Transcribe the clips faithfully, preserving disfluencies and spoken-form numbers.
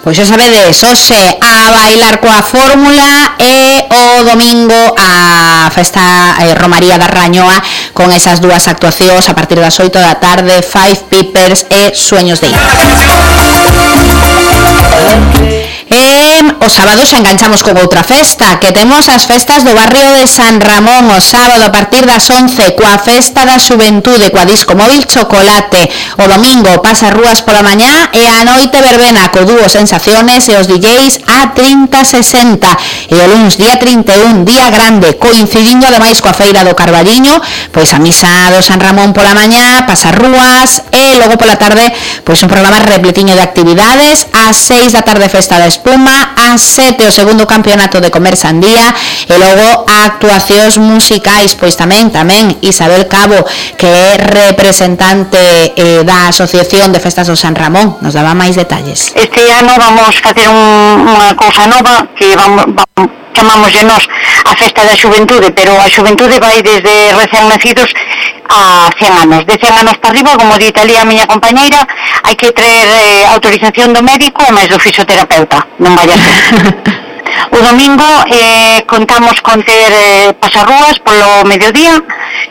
Pois xa sabedes, hoxe a bailar coa fórmula e o domingo a festa eh, Romaría da Rañoa con esas dúas actuacións a partir das oito da tarde, Five Peepers e Sueños de Ita. E o sábado xa enganchamos con outra festa, que temos as festas do barrio de San Ramón o sábado a partir das once coa festa da xuventude coa disco móvil Chocolate. O domingo pasa rúas pola mañá e a noite verbena co dúo Sensaciones e os D Js a trinta sesenta. E o luns día trinta e un, día grande, coincidindo ademais coa feira do Carballiño, pois a misa do San Ramón pola mañá, pasa rúas e logo pola tarde pois un programa repletiño de actividades. Ás seis da tarde festa da espuma, ás sete o segundo campeonato de comer sandía e logo actuacións musicais, pois tamén tamén Isabel Cabo, que é representante eh, da Asociación de Festas do San Ramón, nos daba máis detalles. Este ano vamos facer un, unha cousa nova que vamos, vamos chamámoslle nos a festa da xuventude, pero a xuventude vai desde recén nacidos a cen anos, de cen anos para arriba, como dita ali a miña compañeira, hai que traer eh, autorización do médico e máis do fisioterapeuta, non vai a ser. O domingo eh, contamos con ter eh, pasarrúas polo mediodía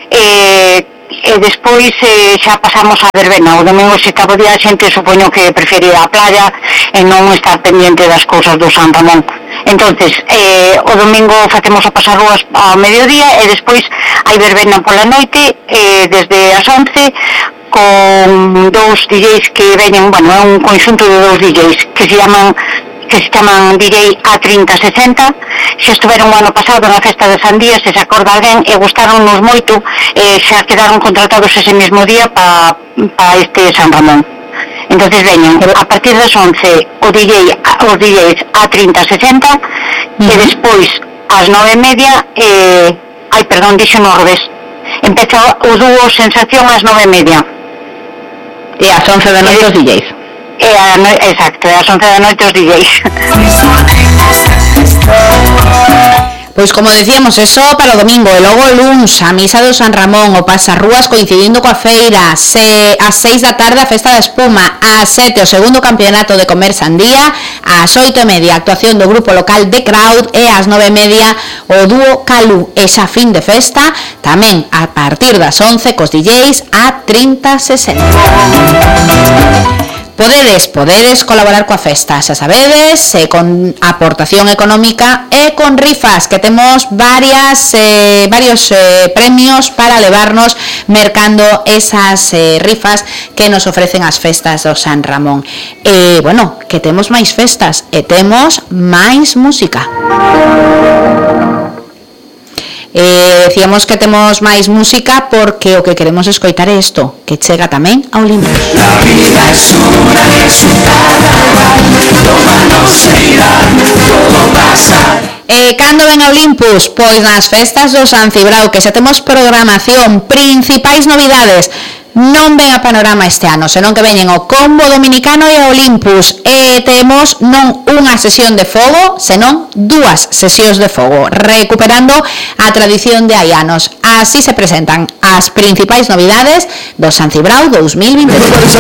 e, e despois eh, xa pasamos a verbena. O domingo se cabo día a xente supoño que prefere a playa e non estar pendiente das cousas do San Ramón. Entonces, eh, o domingo facemos a pasarrúas ao mediodía e despois hai verbena pola noite eh, desde as once con dous D Js que veñen, bueno, é un conxunto de dous D Js que se llaman que se chaman D J A trinta sesenta, xa estuveron o ano pasado na festa de Sandía, se se acorda alguén, e gustaronnos moito, e xa quedaron contratados ese mesmo día para pa este San Ramón. Entonces veñen a partir das once o D J, os D Js A trinta sesenta, uh-huh. E despois ás nove e media, eh, ai, perdón, dixo no revés, empeza o dúo Sensación ás nove e media. E ás once da noite os D Js. E a no... Exacto, ás once da noite os D Js. Pois como decíamos, eso para o domingo e logo o luns a misa do San Ramón, o pasarrúas coincidindo coa feira, se ás seis da tarde a festa da espuma, ás sete o segundo campeonato de comer sandía, ás oito e media actuación do grupo local The Crowd e ás nove e media o dúo Calú. Esa fin de festa tamén a partir das once cos D Js a trinta sesenta. Podedes, podedes colaborar coa festa, xa sabedes, eh, con aportación económica e con rifas, que temos varias, eh, varios eh, premios para levarnos mercando esas eh, rifas que nos ofrecen as festas do San Ramón. E, bueno, que temos máis festas e temos máis música. Eh, decíamos que temos máis música porque o que queremos escoitar é isto, que chega tamén ao Olympus. La vida es una resultada, tómanos e irán, todo pasa. E cando ven a Olympus? Pois nas festas do San Cibrao, que xa temos programación, principais novidades. Non ven a panorama este ano, senón que veñen o Combo Dominicano e a Olympus, e temos non unha sesión de fogo, senón dúas sesións de fogo, recuperando a tradición de hai anos. Así se presentan as principais novidades do San Cibrao dous mil vinte e tres.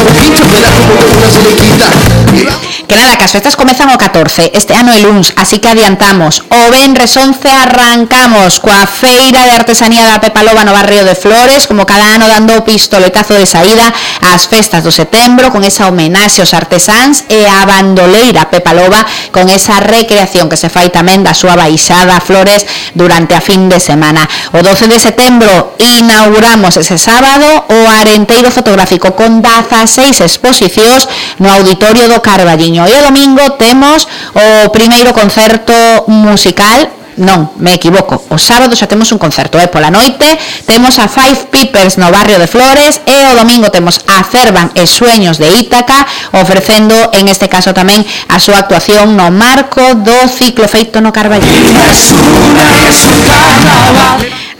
Que nada, que as festas comezan o catorce, este ano é luns, así que adiantamos. O venres once arrancamos coa feira de artesanía da Pepa Loba no barrio de Flores, como cada ano dando o pistoletazo de saída ás festas do setembro, con esa homenaxe aos artesáns, e a bandoleira Pepa Loba con esa recreación que se fai tamén da súa baixada a Flores durante a fin de semana. O doce de setembro inauguramos ese sábado o Arenteiro Fotográfico con dezaseis exposicións no Auditorio do Carballiño. E o domingo temos o primeiro concerto musical. Non, me equivoco, o sábado xa temos un concerto, e pola noite temos a Five Peepers no barrio de Flores, e o domingo temos a Cervan e Sueños de Ítaca, ofrecendo en este caso tamén a súa actuación no marco do ciclo feito no Carballiño.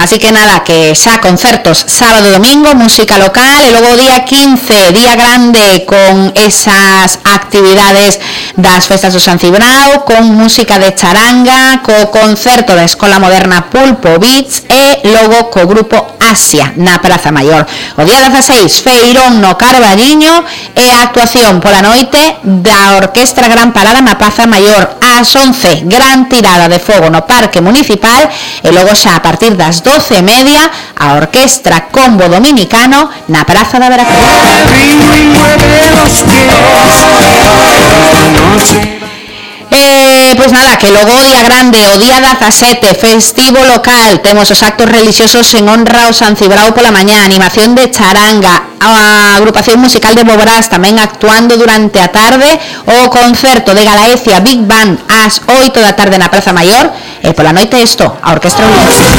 Así que nada, que xa concertos sábado e domingo, música local, e logo o día quince, día grande, con esas actividades das festas do San Cibrao, con música de charanga, co concerto da Escola Moderna Pulpo Beats e logo co grupo Asia na Praza Maior. O día dezaseis, feirón no Carballiño e a actuación pola noite da Orquestra Gran Parada na Praza Maior. Ás once, gran tirada de fogo no Parque Municipal e logo xa a partir das doce e media a Orquestra Combo Dominicano na Praza da Veracruz. Eh, pois nada, que logo o día grande, o día dezasete, festivo local, temos os actos religiosos en honra ao San Cibrao pola mañá, animación de charanga, a agrupación musical de Bobrás tamén actuando durante a tarde, o concerto de Galaecia Big Band ás oito da tarde na Praza Maior, e pola noite isto, a Orquestra Olímpica.